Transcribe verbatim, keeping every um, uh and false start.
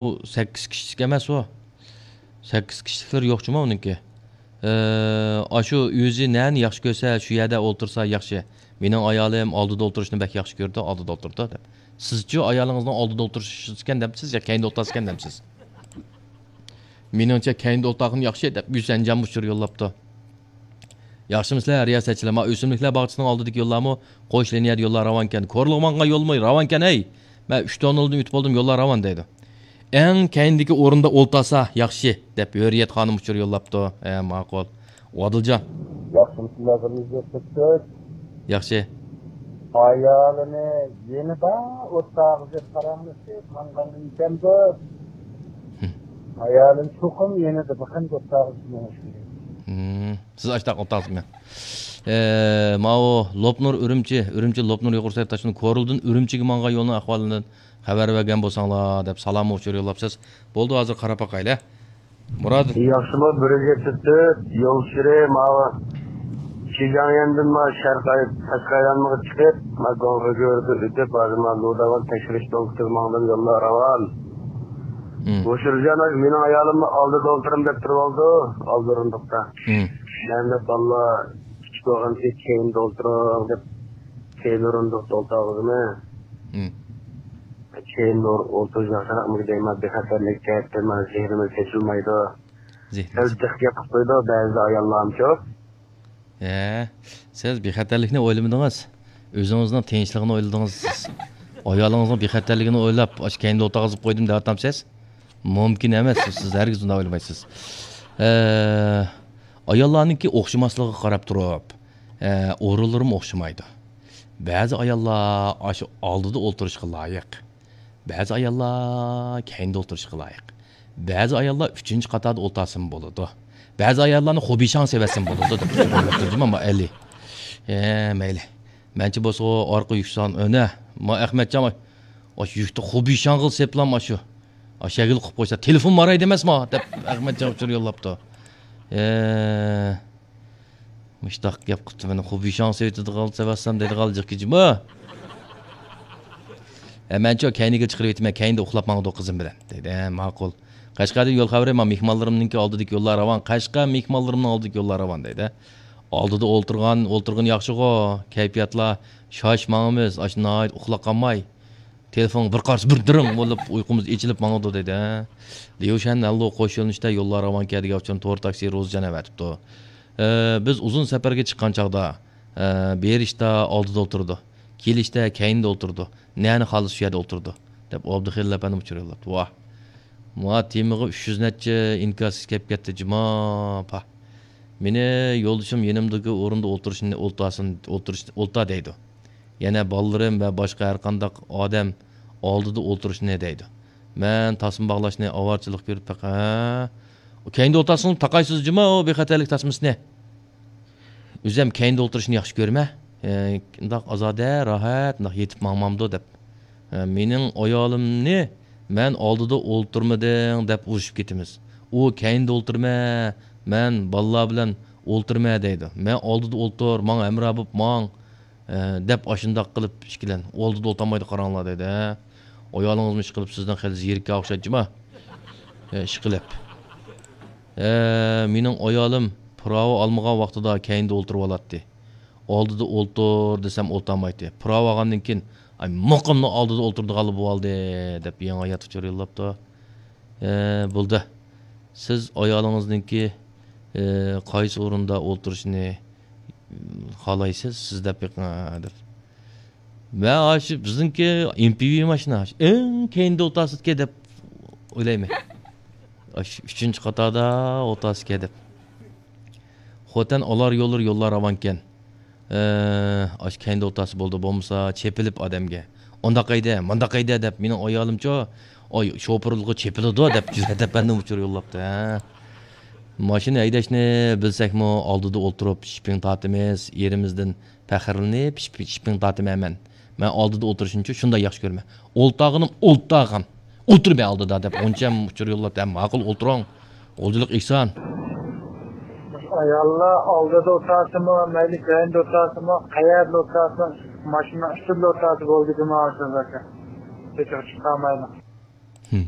ئۇ سەككىز كىشىلىك ئەمەس ئۇ. سەككىز كىشىلىكلىرى يوق جۇما ئۇنىڭكى. ئاشۇ ئۆزى نەنى ياخشى كۆرسە، شۇ يەردە ئولتۇرسا ياخشى. مېنىڭ ئايالىم ئالدىدا ئولتۇرۇشنى بەك ياخشى كۆرىدۇ، ئالدىدا ئولتۇرىدۇ دەپ. سىزچۇ ئايالىڭىزنىڭ ئالدىدا ئولتۇرۇشىكەن دەمسىز يا كەينىدە ئولتۇرسىكەن دەمسىز؟ مېنىڭچە كەينىدە ئولتۇرغىنى ياخشى دەپ يۈسەنجان ئۇچۇر يوللاپتۇ. ياخشىمۇسىلەر رىياسەتچىلەر؟ ما ئۆسۈملۈكلەر باغچىسىنىڭ ئالدىدىكى يوللارمۇ قوش لىنىيەدە يوللار راۋانكەن. كورلىغا ماڭغان يولمۇ راۋانكەن ھەي! مەن ئۈچ توننىلدىن ئۆتۈپ بولدۇم، يوللار راۋان دەيدۇ. ئەڭ كەينىدىكى ئورۇندا ئولتۇرسا ياخشى دەپ ھۆرىيەت خانىم ئۇچۇر يوللاپتۇ. ھە، ماقۇل. ئادىلجان. ياخشىمۇسىلەر بىر يۈز يەتمىش تۆت؟ ياخشى. ئايالىنى يېنىدا ئولتۇرغۇزۇپ پاراڭلىشىپ ماڭغان ئىكەندۇ. ھىم. ئايالىنى چوقۇم يېنىدا بىخەن ئولتۇرغۇزۇپ مېڭىش كېرەك. ھىم. سىز ئاشتاق ئولتۇرسىزمۇ؟ ئە، ماۋۇ لوپنۇر ئۈرۈمچى، ئۈرۈمچى لوپنۇر يۇقىرى سەيد تاشنىڭ كورلىدىن ئۈرۈمچىگە ماڭغان يولنىڭ ئەھۋالىدىن خەۋەر بەرگەن بولساڭلار دەپ سالاممۇ ئۇچۇر يوللاپسىز. بولدى، ھازىر قاراپ باقايلى. مۇراد. ياخشىمۇ، بىر يۈز يەتمىش تۆت يول ئۇچۇرى ماۋۇ شىجاڭيەندىن ما شەرقىي تاشقى ئايلانمىغا چىقىپ، ما گۇاڭخې گۆرۈدىن ئۆتۈپ، ھازىر ما لۇداۋان تەكشۈرۈش پونكىتىغا ماڭدىم، يوللار راۋان. ھىم. بۇ شىرجان مېنىڭ ئايالىممۇ ئالدىدا ئولتۇرۇم دەپ تۇرۇۋالدى، ئالدى ئورۇندۇقتا. ھىم. مەن دەپ بالىلار كىچىك بولغان كەينىدە ئولتۇرۇڭ دەپ كەينى ئورۇندۇقتا ئولتۇرغۇزىمەن. ھىم. كەينىدە ئولتۇرۇش ياخشىراقمىكىن دەيمەن، بىخەتەرلىك جەھەتتىن مانا زېھنىمىز چېچىلمايدۇ. زېھنىمىز. سەل جىق گەپ قىلىپ قويىدۇ بەزىدە ئاياللارمۇچۇ. ھە، سىز بىخەتەرلىكنى ئويلىمىدىڭىز. ئۆزىڭىزنىڭ تىنچلىقىنى ئويلىدىڭىز سىز. ئايالىڭىزنىڭ بىخەتەرلىكىنى ئويلاپ، ئاشۇ كەينىدە ئولتۇرغۇزۇپ قويدۇم دەۋاتامسىز؟ مۇمكىن ئەمەس، سىز ھەرگىز ئۇنداق ئويلىمايسىز. ئە، ئاياللارنىڭكى ئوخشىماسلىقىغا قاراپ تۇرۇپ، ئە، ئورۇنلىرىمۇ ئوخشىمايدۇ. بەزى ئاياللار ئاشۇ ئالدىدا ئولتۇرۇشقا لايىق. بەزى ئاياللار كەينىدە ئولتۇرۇشقا لايىق. بەزى ئاياللار ئۈچىنچى قاتاردا ئولتۇرسىمۇ بولىدۇ. بەزى ئاياللارنى خوبىشاڭ سېۋەتسىمۇ بولىدۇ دەپ ئۇچۇر يوللاپتۇ جۇما ئەلى. ھە، مەيلى. مەنچە بولسا ئارقا يۈكسان ئۆنە. ما ئەخمەتجان، ئاشۇ يۈكتە خوبىشاڭغىل سېپلام ئاشۇ. ئاشەگىل قىلىپ قويسا، تېلېفون ماراي دېمەسما دەپ ئەخمەتجان ئۇچۇر يوللاپتۇ. ھە. مۇشتاق گەپ قىپتۇ مېنى، خوبىشاڭ سېۋىتىدىغان سەۋەتسەم دەيدىغان جىق كىجىمۇ. ھە، مەنچۇ كەينىگە چىقىرىۋېتىمەن، كەينىدە ئۇخلاپ ماڭىدۇ قىزىم بىلەن دەيدۇ. ھە، ماقۇل. قەشقەردىن يول خەۋىرى، ما مېھمانلىرىمنىڭكى ئالدىدىكى يوللار راۋان، قەشقەر مېھمانلىرىمنىڭ ئالدىدىكى يوللار راۋان دەيدۇ. ئالدىدا ئولتۇرغان، ئولتۇرغىنى ياخشىغۇ، كەيپىياتلار شاش ماڭىمىز، ئاشۇ ناھايىتى ئۇخلاپ قالماي. تېلېفونغا بىر قارىسا بىر دىرىڭ بولۇپ ئۇيقۇمىز ئېچىلىپ ماڭىدۇ دەيدۇ. ليۇشەن ھەنلۇ قوش يۆنىلىشتە يوللار راۋانكەن دېگەن ئۇچۇرنى تور تاكسى روزىجان ئەۋەتىپتۇ. ئە، بىز ئۇزۇن سەپەرگە چىققان چاغدا، ئە، بېرىشتا ئالدىدا ئولتۇرىدۇ، كېلىشتە كەينىدە ئولتۇرىدۇ، نەنى خالىسا شۇ يەردە ئولتۇرىدۇ دەپ ئابدۇخېلىل ئەپەندىم ئۇچۇر يوللاپتۇ. ۋاھ. ما تېمىغا ئۈچ يۈز نەچچە ئىنكاس كەپ كەتتى جۇما پاھ. مېنى يولدىشىم يېنىمدىكى ئورۇندا ئولتۇرۇشنى ئولتۇرسۇن، ئولتۇرۇش، ئولتۇر دەيدۇ. يەنە بالىلىرىم ۋە باشقا ھەرقانداق ئادەم ئالدىدا ئولتۇرۇشنى دەيدۇ. مەن تاسما باغلاشنى ئاۋارىچىلىق كۆرۈپ بېقىڭ. ھە؟ ئۇ كەينىدە ئولتۇرسىڭىز تاقايسىز جۇما، ئۇ بىخەتەرلىك تاسمىسىنى. ئۆزۈم كەينىدە ئولتۇرۇشنى ياخشى كۆرىمەن. ھە، ئۇنداق ئازادە، راھەت، ئۇنداق يېتىپ ماڭمامدۇ دەپ. ھە، مېنىڭ ئايالىمنى مەن ئالدىدا ئولتۇرمىدىڭ دەپ ئۇرۇشۇپ كېتىمىز. ئۇ كەينىدە ئولتۇرمە، مەن بالىلار بىلەن ئولتۇرمە دەيدۇ. مەن ئالدىدا ئولتۇر، ماڭا ھەمراھ بولۇپ ماڭ. ئە، دەپ ئاشۇنداق قىلىپ ئىككىلەن ئالدىدا ئولتۇرمايدۇ قاراڭلار دەيدۇ. ھە؟ ئايالىڭىزمۇ ئىشقىلىپ سىزدىن خېلى زېرىككەن ئوخشايدۇ جۇما. ئە، ئىشقىلىپ. ئە، مېنىڭ ئايالىم پىراۋا ئالمىغان ۋاقتىدا كەينىدە ئولتۇرۇۋالاتتى. ئالدىدا ئولتۇر دېسەم ئولتۇرمايتتى. پىراۋا ئالغاندىن كېيىن، ئاي، مۇقىملا ئالدىدا ئولتۇرىدىغانلا بولۇۋالدى دەپ يېڭى ھايات ئۇچۇر يوللاپتۇ. ئە، بولدى. سىز ئايالىڭىزنىڭكى، ئە، قايسى ئورۇندا ئولتۇرۇشىنى خالايسىز، سىز دەپ بېقىڭ، دەپ. مەن ئاشۇ بىزنىڭكى ئېم پى ۋى ماشىنا، ئەڭ كەينىدە ئولتۇرسىكەن دەپ ئويلايمەن. ئاشۇ ئۈچىنچى قاتاردا ئولتۇرسىكەن دەپ. خوتەن ئالار يوللىرى يوللار راۋانكەن. ئە، ئاشۇ كەينىدە ئولتۇرسا بولدى، بولمىسا چېپىلىپ ئادەمگە. ئۇنداق ھەيدە، مۇنداق ھەيدە دەپ مېنىڭ ئايالىمچۇ، ئاي، شوپۇرلۇقى چېپىلىدۇ دەپ جۈرئەت ئەپەندىم ئۇچۇر يوللاپتۇ، ھە. ماشىنا ھەيدەشنى بىلسەكمۇ، ئالدىدا ئولتۇرۇپ شىپىڭ تارتىمىز، ئېرىمىزدىن پەخىرلىنىپ شىپ-، شىپىڭ تارتىمەن مەن. مەن ئالدىدا ئولتۇرۇشنىچۇ شۇنداق ياخشى كۆرىمەن. ئولتۇرغىنىم ئولتۇرغان. ئولتۇر مەن ئالدىدا دەپ ئۇنچە ئۇچۇر يوللاپتۇ، ھە، ماقۇل ئولتۇرۇڭ. غۇلجىلىق ئېھسان. ئاياللار ئالدىدا ئولتۇرسىمۇ، مەيلى كەينىدە ئولتۇرسىمۇ، قەيەردە ئولتۇرسىمۇ، ماشىنىنىڭ ئۈستىدە ئولتۇرسا بولدى جۇما ئاشۇ زاكا. چېچىغا چىقارمايدۇ. ھىم.